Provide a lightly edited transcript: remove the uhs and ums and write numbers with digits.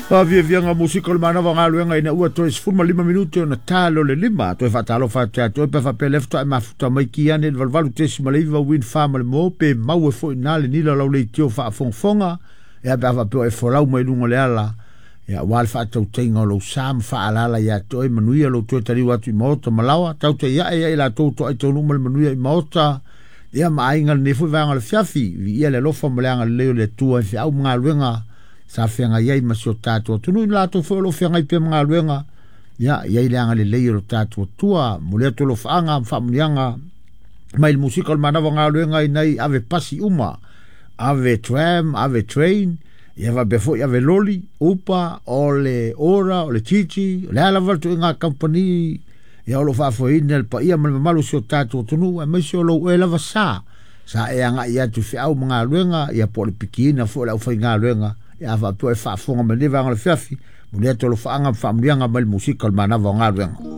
Faafiafiaga musika o le manava o galuega ina ua toe 15 minute ona ta lea o le 5. Toe faatalofa atu ia te oe pe a faapea lea faatoa e mafuta mai ki ane i le 88.9 Win 4 ma le mo pe mau e foi ina le nila o lau leitio faafogafoga ia pe a faapea o e folau mai luga o le ala ia aua le faatautaiga o lou sa ma faaalaala ia te oe manuia lou toe taliu atu i maota ma laoa tautai ae ia i latou toai taunuu ma le manuia i maota ia ma aiga lenei foi vaega o le fiafi viia le alofa ma le agalelei o le Atua i feau ma galuega sa feagai ai ma si o tatou atunuu i latou foi o lo o feagai pea ma galuega ia i ai le agalelei o lo tatou Atua momoli atu alofaaga ma faamuniaga mai le musika o le manava o galuega inai ave pasi uma ave tram ave train ia faapea foi ave loli upa o le ora o le titi o le a lava le tuiga kamupani ia o lo o faafoeina le paia ma le mamalu o si o tatou atunuu aemaise o lou oe lava sa sa e agai atu i feau ma galuega ia po o le pikiina foi o le aufaigaluega ia a faapea e faafofoga mai lenei vaega o le fiafi momoli atu alofaaga ma faamuliaga mai le musika o le manava o galuega.